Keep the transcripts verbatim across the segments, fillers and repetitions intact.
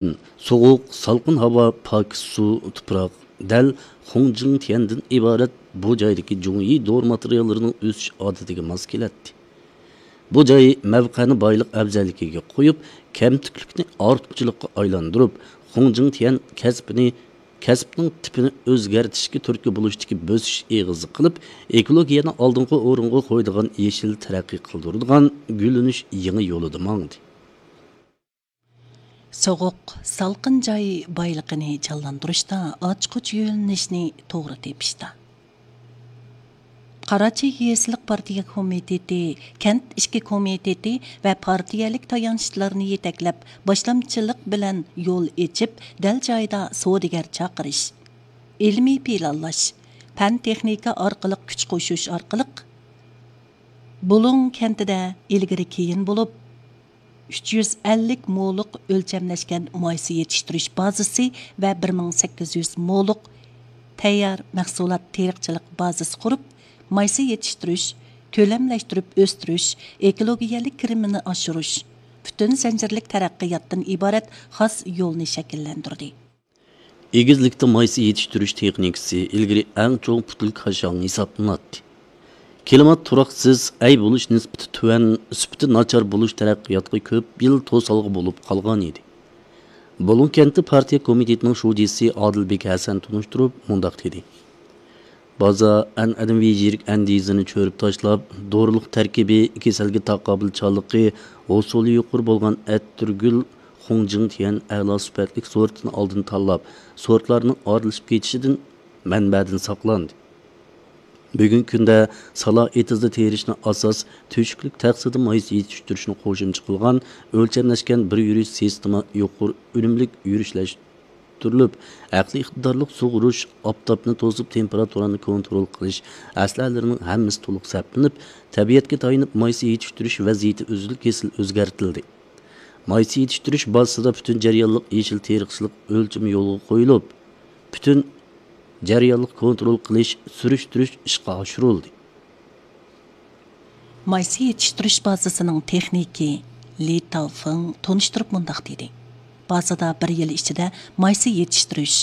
سوغۇق، سالقىن ھاۋا، پاكىز سۇ، تۇپراق دەل خۇڭجىڭتيەندىن ئىبارەت بۇ جايدىكى جۇڭيى دورا ماتېرىياللىرىنىڭ ئۆسۈش ئادىتىگە ماس كېلەتتى. بۇ جاي مەۋقەنى بايلىق ئەۋزەللىكىگە قويۇپ، كەمتۈكلۈكنى ئارتۇقچىلىققا ئايلاندۇرۇپ، خۇڭجىڭتيەن كەسپىنى، كەسىپنىڭ تىپىنى ئۆزگەرتىشكە تۈرتكە بولۇشتىكى بۆسۈش ئېغىزى قىلىپ، ئېكولوگىيەنى ئالدىنقى ئورۇنغا قويىدىغان يېشىل تەرەققىي قىلدۇرىدىغان گۈللىنىش يېڭى يولىدا ماڭدى. سوغۇق، سالقىن جاي بايلىقىنى جانلاندۇرۇشتا، ئاچقۇچ يۆنىلىشنى توغرا تېپىشتا. قاراچى يېزىلىق پارتىيە كومىتېتى، كەنت ئىچكى كومىتېتى ۋە پارتىيەلىك تايانچلارنى يېتەكلەپ، باشلامچىلىق بىلەن يول ئېچىپ، دەل جايىدا سودىگەر چاقىرىش، ئىلمىي پىلانلاش، پەن تېخنىكا ئارقىلىق كۈچ قوشۇش ئارقىلىق، بۇلۇڭ كەنتىدە ئىلگىرى كېيىن بولۇپ، ئۈچ يۈز ئەللىك مولۇق ئۆلچەملەشكەن مايسا يېتىشتۈرۈش بازىسى ۋە بىر مىڭ سەككىز يۈز مولۇق تەييار مەھسۇلات تېرىقچىلىق بازىسى قۇرۇپ، مايسا يېتىشتۈرۈش، كۆلەملەشتۈرۈپ ئۆستۈرۈش، ئېكولوگىيەلىك كىرىمىنى ئاشۇرۇش، پۈتۈن زەنجىرلىك تەرەققىياتتىن ئىبارەت خاس يولنى شەكىللەندۈردى. ئېگىزلىكتە مايسا يېتىشتۈرۈش تېخنىكىسى ئىلگىرى ئەڭ چوڭ پۈتۈن كاشاڭ ھېسابلىناتتى. كىلىمات تۇراقسىز، ئەي بولۇش نىسبىتى تۆۋەن، سۈپىتى ناچار بولۇش تەرەققىياتقا كۆپ يىل توسالغۇ بولۇپ قالغان ئىدى. بۇلۇڭ كەنتى پارتىيە كومىتېتىنىڭ شۇجىسى ئادىلبېك ھەسەن تونۇشتۇرۇپ مۇنداق دېدى: بازا ئەنئەنىۋى يىرىك ئەندىزىنى چۆرۈپ تاشلاپ، دورىلىق تەركىبى، كېسەلگە تاقابىلچانلىقى، ھوسۇلى يۇقىرى بولغان ئەتىرگۈل خۇڭجىڭتيەن ئەلا سۈپەتلىك سورتىنى ئالدىن تاللاپ، سورتلارنىڭ ئارىلىشىپ كېتىشىدىن، مەنبەدىن ساقلاندى. بۈگۈنكى كۈندە سالا ئېتىزدا تېرىشنى ئاساس تۆشۈكلۈك تەخسىدە مايسا يېتىشتۈرۈشنى قوشۇمچە قىلغان ئۆلچەملەشكەن بىر يۈرۈش سىستېما يۇقىرى ئۈنۈملۈك يۈرۈشلەشتۈرۈلۈپ، ئەقلىي ئىقتىدارلىق سۇغۇرۇش، ئاپتاپنى توسۇپ تېمپېراتۇرانى كونترول قىلىش ئەسلىھەلىرىنىڭ ھەممىسى تولۇق سەپلىنىپ، تەبىئەتكە تايىنىپ مايسا يېتىشتۈرۈش ۋەزىيىتى ئۈزۈل-كېسىل ئۆزگەرتىلدى. مايسا يېتىشتۈرۈش بازىسىدا پۈتۈن جەريانلىق يېشىل تېرىقچىلىق ئۆلچىمى يولغا قويۇلۇپ، پۈتۈن جەريانلىق كونترول قىلىش، سۈرۈشتۈرۈش ئىشقا ئاشۇرۇلدى. مايسا يېتىشتۈرۈش بازىسىنىڭ تېخنىكى لى تاۋفېڭ تونۇشتۇرۇپ مۇنداق دېدى: بازىدا بىر يىل ئىچىدە مايسا يېتىشتۈرۈش،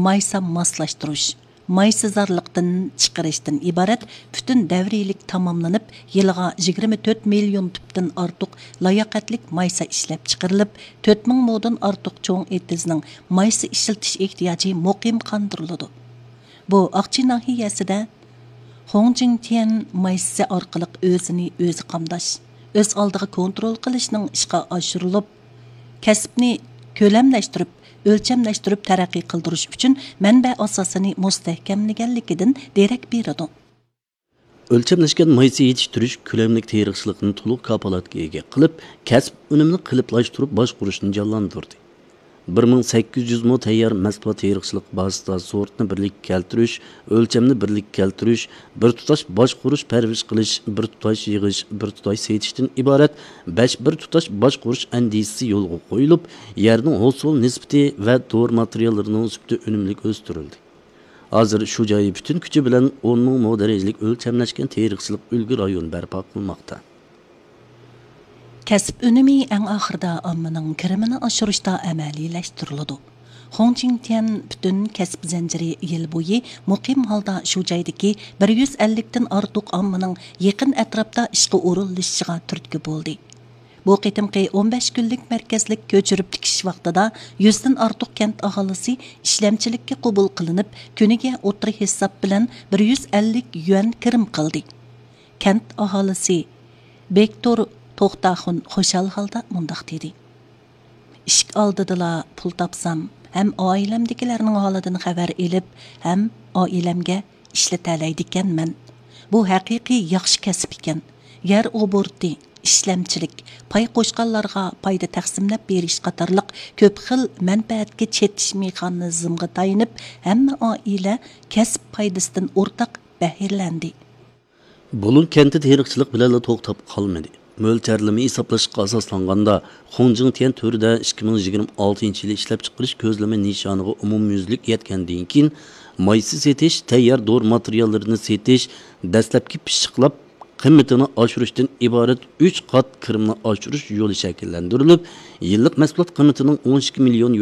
مايسا ماسلاشتۇرۇش، مايسىزارلىقتىن چىقىرىشتىن ئىبارەت پۈتۈن دەۋرىيلىك تاماملىنىپ، يىلىغا يىگىرمە تۆت مىليون تۈپتىن ئارتۇق لاياقەتلىك مايسا ئىشلەپ چىقىرىلىپ، تۆت مىڭ مودىن ئارتۇق چوڭ ئېتىزنىڭ مايسا ئىشلىتىش ئېھتىياجى مۇقىم قاندۇرۇلىدۇ. بۇ ئاقچى ناھىيەسىدە خۇڭجىڭتيەن مايسىسى ئارقىلىق ئۆزىنى ئۆزى قامداش، ئۆز ئالدىغا كونترول قىلىشنىڭ ئىشقا ئاشۇرۇلۇپ، كەسىپنى كۆلەملەشتۈرۈپ، ئۆلچەملەشتۈرۈپ تەرەققىي قىلدۇرۇش ئۈچۈن مەنبە ئاساسىنى مۇستەھكەملىگەنلىكىدىن دېرەك بېرىدۇ. ئۆلچەملەشكەن مايسا يېتىشتۈرۈش كۆلەملىك تېرىقچىلىقنى تولۇق كاپالەتكە ئىگە قىلىپ، كەسىپ ئۈنۈمىنى قېلىپلاشتۇرۇپ باشقۇرۇشنى جانلاندۇردى. بىر مىڭ سەككىز يۈز مو تەييار مەھسۇلات تېرىقچىلىق بازىسىدا سورتنى بىرلىككە كەلتۈرۈش، ئۆلچەمنى بىرلىككە كەلتۈرۈش، بىر تۇتاش باشقۇرۇش، پەرۋىش قىلىش، بىر تۇتاش يىغىش، بىر تۇتاش سېتىشتىن ئىبارەت بەش بىر تۇتاش باشقۇرۇش ئەندىزىسى يولغا قويۇلۇپ، يەرنىڭ ھوسۇل نىسبىتى ۋە دورا ماتېرىياللىرىنىڭ سۈپىتى ئۈنۈملۈك ئۆستۈرۈلدى. ھازىر شۇ جاي پۈتۈن كۈچى بىلەن ئون مىڭ مو دەرىجىلىك ئۆلچەملەشكەن تېرىقچىلىق ئۈلگە رايونى بەرپا قىلماقتا. كەسىپ ئۈنۈمى ئەڭ ئاخىرىدا ئاممىنىڭ كىرىمىنى ئاشۇرۇشتا ئەمەلىيلەشتۈرۈلىدۇ. خۇڭجىڭتيەن پۈتۈن كەسىپ زەنجىرى يىل بويى مۇقىم ھالدا شۇ جايدىكى بىر يۈز ئەللىكتىن ئارتۇق ئاممىنىڭ يېقىن ئەتراپتا ئىشقا ئورۇنلىشىشىغا تۈرتكە بولدى. بۇ قېتىمقى ئون بەش كۈنلۈك مەركەزلىك كۆچۈرۈپ تىكىش ۋاقتىدا يۈزدىن ئارتۇق كەنت ئاھالىسى ئىشلەمچىلىككە قوبۇل قىلىنىپ، كۈنىگە ئوتتۇرا ھېساب بىلەن بىر يۈز ئەللىك يۈەن كىرىم قىلدى. كەنت ئاھالىسى بېكتور توختاخۇن خۇشال ھالدا مۇنداق دېدى: ئىشىك ئالدىدىلا پۇل تاپسام، ھەم ئائىلەمدىكىلەرنىڭ ھالىدىن خەۋەر ئېلىپ، ھەم ئائىلەمگە ئىشلىتەلەيدىكەنمەن. بۇ ھەقىقىي ياخشى كەسىپ ئىكەن. يەر ئوبوروتى، ئىشلەمچىلىك، پاي قوشقانلارغا پايدا تەقسىملەپ بېرىش قاتارلىق كۆپ خىل مەنپەئەتكە چېتىش مېخانىزمىغا تايىنىپ، ھەممە ئائىلە كەسىپ پايدىسىدىن ئورتاق بەھرىلەندى. بۇلۇڭ كەنتى تېرىقچىلىق بىلەنلا توختاپ قالمىدى. مۆلچەرلىمە ھېسابلاشقا ئاساسلانغاندا، خۇڭجىڭتيەن تۈرىدە ئىككى مىڭ يىگىرمە ئالتىنچى يىلى ئىشلەپچىقىرىش كۆزلىمە نىشانىغا ئومۇميۈزلۈك يەتكەندىن كېيىن، مايسا سېتىش، تەييار دورا ماتېرىياللىرىنى سېتىش، دەسلەپكى پىششىقلاپ قىممىتىنى ئاشۇرۇشتىن ئىبارەت ئۈچ قات كىرىمنى ئاشۇرۇش يولى شەكىللەندۈرۈلۈپ، يىللىق مەھسۇلات قىممىتىنىڭ ئون ئىككى مىليون